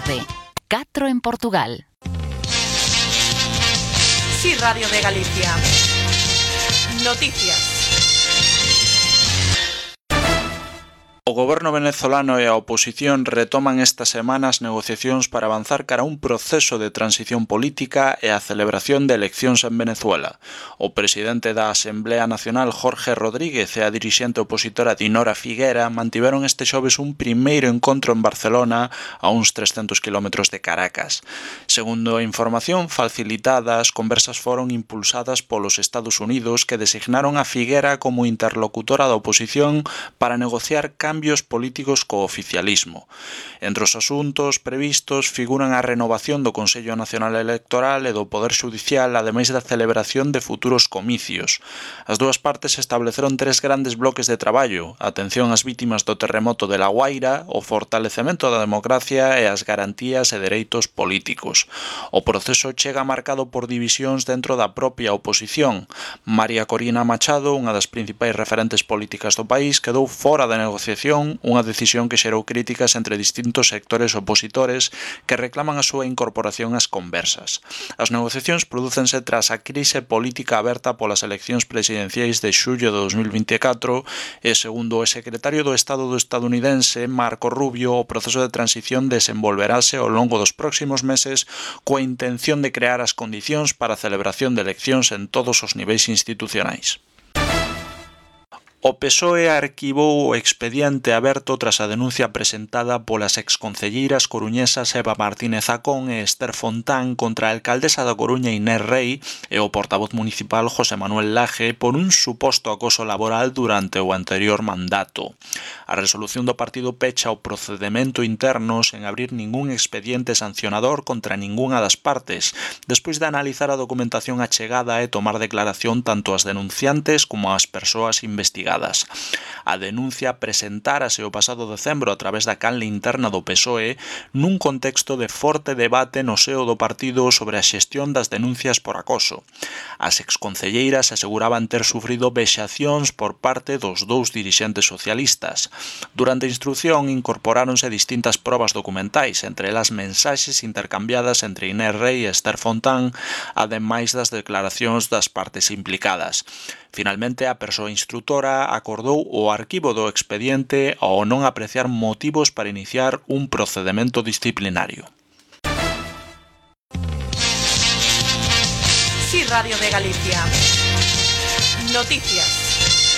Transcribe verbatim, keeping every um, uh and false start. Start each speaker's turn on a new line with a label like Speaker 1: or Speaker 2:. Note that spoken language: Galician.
Speaker 1: tarde. catro en Portugal.
Speaker 2: Sí, Radio de Galicia. Noticias.
Speaker 3: O goberno venezolano e a oposición retoman esta semana as negociacións para avanzar cara a un proceso de transición política e a celebración de eleccións en Venezuela. O presidente da Asamblea Nacional, Jorge Rodríguez, e a dirixente opositora Dinora Figuera mantiveron este xoves un primeiro encontro en Barcelona a uns trescentos kilómetros de Caracas. Segundo a información facilitada, as conversas foron impulsadas polos Estados Unidos, que designaron a Figuera como interlocutora da oposición para negociar cambios cambios políticos co oficialismo. Entre os asuntos previstos figuran a renovación do Consello Nacional Electoral e do Poder Xudicial, ademais da celebración de futuros comicios. As dúas partes estableceron tres grandes bloques de traballo: a atención ás vítimas do terremoto de La Guaira, o fortalecemento da democracia e as garantías e dereitos políticos. O proceso chega marcado por divisións dentro da propia oposición. María Corina Machado, unha das principais referentes políticas do país, quedou fora da negociación, unha decisión que xerou críticas entre distintos sectores opositores que reclaman a súa incorporación ás conversas. As negociacións prodúcense tras a crise política aberta polas eleccións presidenciais de xullo de dos mil vinte e catro e, segundo o secretario do Estado do estadounidense, Marco Rubio, o proceso de transición desenvolverase ao longo dos próximos meses coa intención de crear as condicións para a celebración de eleccións en todos os niveis institucionais. O P S O E arquivou o expediente aberto tras a denuncia presentada polas exconcelleiras coruñesas Eva Martínez Acón e Esther Fontán contra a alcaldesa da Coruña Inés Rei e o portavoz municipal José Manuel Laje por un suposto acoso laboral durante o anterior mandato. A resolución do partido pecha o procedemento interno sen abrir ningún expediente sancionador contra ningunha das partes, despois de analizar a documentación achegada e tomar declaración tanto as denunciantes como as persoas investigadas. A denuncia presentárase o pasado decembro a través da canle interna do P S O E nun contexto de forte debate no seo do partido sobre a xestión das denuncias por acoso. As exconcelleiras aseguraban ter sufrido vexacións por parte dos dous dirixentes socialistas. Durante a instrucción incorporáronse distintas probas documentais, entre elas mensaxes intercambiadas entre Inés Rei e Esther Fontán, ademais das declaracións das partes implicadas. Finalmente, a persoa instrutora acordou o arquivo do expediente ao non apreciar motivos para iniciar un procedemento disciplinario.
Speaker 2: Sí, Radio de Galicia. Noticias.